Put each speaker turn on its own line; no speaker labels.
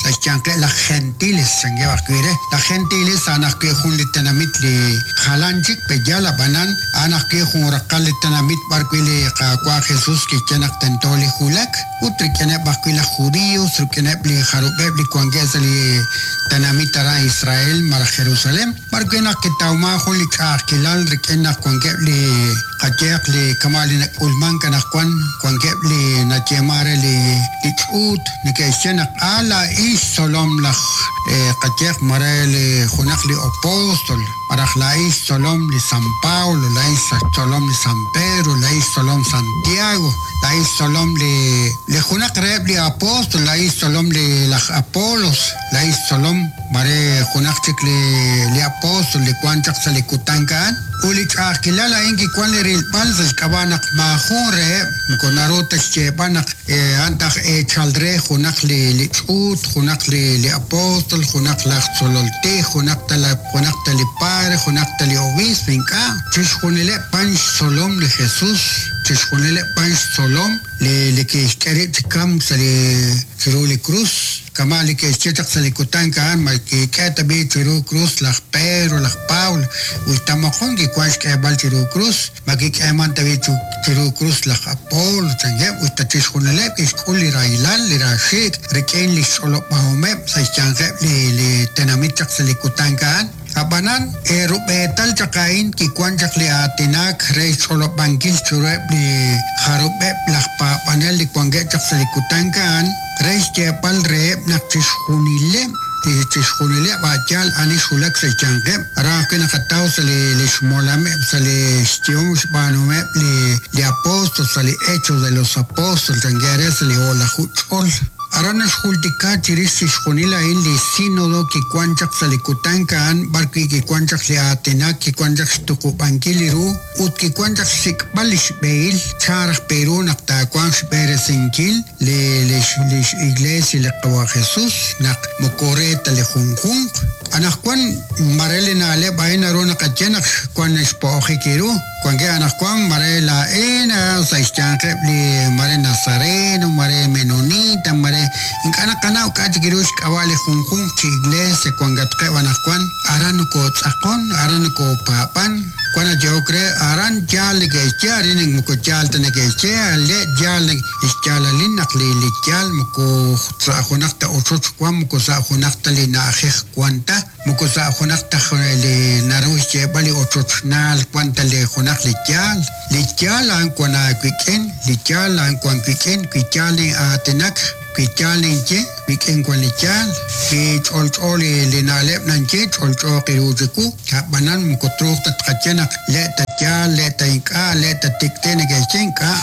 sa' xyanqeb' laj Gentiles chankeb' ajwi' re. Laj Gentiles a'an ajwi' jun li tenamit li jalan chik pe yaal ab'anan a'an ajwi' jun raqal li tenamit b'ar wi' li Qaawa' Jesus kixye naq tento li wulak ut rik'ineb' ajwi' laj Judios rik'ineb' li jarub'eb' li wankeb' sa' li tenamit aran Israel malaj Jerusalén b'ar wi' naq kitawmank jun li ch'a'ajkilal rik'in naq wankeb' li qayehaq li kama' li nak'ulmank anaqwan wankeb' li nayeeman re li li ch'uut neke'xye naq a laa'in xtzolom laj qayehaq mare li junaq li apóstol malaj laa'in xtzolom li San Pablo, laa'in xtzolom li San Pedro, laa'in xtzolom Santiago, laa'in xtzolom li li junaq reheb' li apóstol, laa'in xtzolom li laj Apolos, laa'in xtzolom mare junaq chik li li apóstol li wank chaq sa' li kutan a'an. Ut li ch'a'ajkilal a'in kiwank li rilb'al sa' xk'ab'a' naq maajun reheb' moko naru ta xyeeb'al naq a'an ta aj eechal re junaq li li ch'uut, junaq li li apóstol, junaq laj tzolol tij, junaq ta la junaq ta li padre, junaq ta li obiisp, ink'a'. Chixjunileb' b'an xtzolom li Jesús, chixjunileb' b'an xtzolom li li kixk'e rib' chi kamk sa' li chiru li krus. Kama' li ke'xye chaq sa' li kutan a'an, ma kik'e tab'i' chiru krus laj Pedro, laj Pablo, us ta moqon kiwank xk'eeb'al chiru krus? Ma kik'eemank tab'i' chiru krus laj Apolo? chankeb'. Us ta chixjunileb' ke'xk'ul li rahilal, li raaxiik' rik'in li xch'olob'ahomeb' sa' xyanqeb' li tenamit chaq sa' li kutan a'an. Ab'anan, eerub'eetal chaq a'in kiwank chaq li aatinak re xch'olob'ankil chiruheb' li jarub'eb' laj paab'anel li wankeb' chaq sa' li kutan a'an, re xyeeb'al reheb' naq chixjunileb' li chixjunileb' a' yaal ani xwulak sa' xyanqeb', aran ajwi' naqataw sa' li li xmolameb' sa' li xyehom xb'aanuhomeb' li li apóstol sa' li Hechos de los Apóstoles chankeb' re sa' li o'laju ch'ol. Aran naxjultika chirix chixjunil a'in li sínodo kiwank chaq sa' li kutan a'an b'ar wi' kiwank chaq li aatinak, kiwank chaq xtuqub'ankil li ru ut kiwank chaq xsik'b'al li xb'ehil chan raj pe ru naq taawanq xb'eresinkil li lix Iglesia li Qawa' Jesus naq moko re ta li junjunq. Anaqwan mare li na'leb' a'in naru naqaye naq wank xpo'ojik ru. Wankeb' anaqwan mare laa'in sa' xyanqeb' li mare Nazareno, mare Menonita, mare ink'a' naqanaw k'a' chik ru xk'ab'a' li junjunq chi iglesia wankatqeb' anaqwan, aran nokootz'aqon, aran nokopaab'an, wan nayehok re aran yaal neke'xye, arin moko yaal ta neke'xye, le' yaal li xyaalalil naq li li yaal moko sa' junaq ta ochoch wan, moko sa' junaq ta li na'ajej wan ta. Moko sa' junaq ta li naru xyeeb'al li ochochnaal wan ta li junaq li yaal. Li yaal a'an wan aawik'in, li yaal a'an wan wik'in, wi yaal nin'aatinak, wi yaal ninye, wik'in wan li yaal. Wi ch'olch'o li li na'leb' nanye, ch'olch'ooq ru chiwu. A'b'anan moko truuq ta tqaye naq le' ta yaal, le' ta ink'a', le' ta tik'ti' neke'xye ink'a'.